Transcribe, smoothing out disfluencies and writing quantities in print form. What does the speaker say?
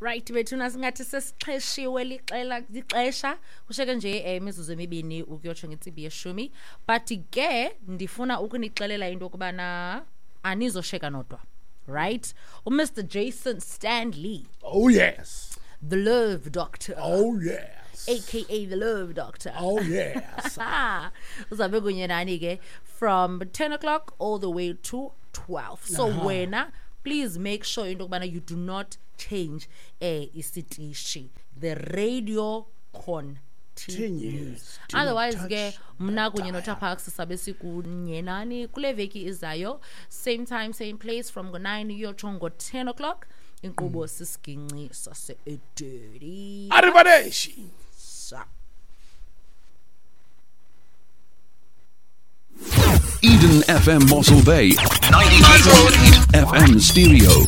Right bethuna, singathi sesixheshiwe lixela lixesha, kusheke nje imizuzu emibini ukuyotsho ngentsimbi yeshumi, but ke ndifuna ukunixelela into yokubana anizosheka nodwa, right? UMr Jason Stanley, Oh yes. the love doctor, Oh yes. aka the love doctor. Oh yes. Uzabe kunye nani ke from 10 o'clock all the way to 12. So wena please make sure into yokubana you do not change isitishi. The radio continues. Continues. Do not Otherwise touch ke mna the kunye dial. noTaparks sabe sikunye nani kule veki izayo, same time, same place, from ngo-9 uyotsho ngo-10 o'clock. Inkqubo sisiginci sase-Edeni. Arrivederci. Sa. Eden FM Mossel Bay, 92.8 FM Stereo.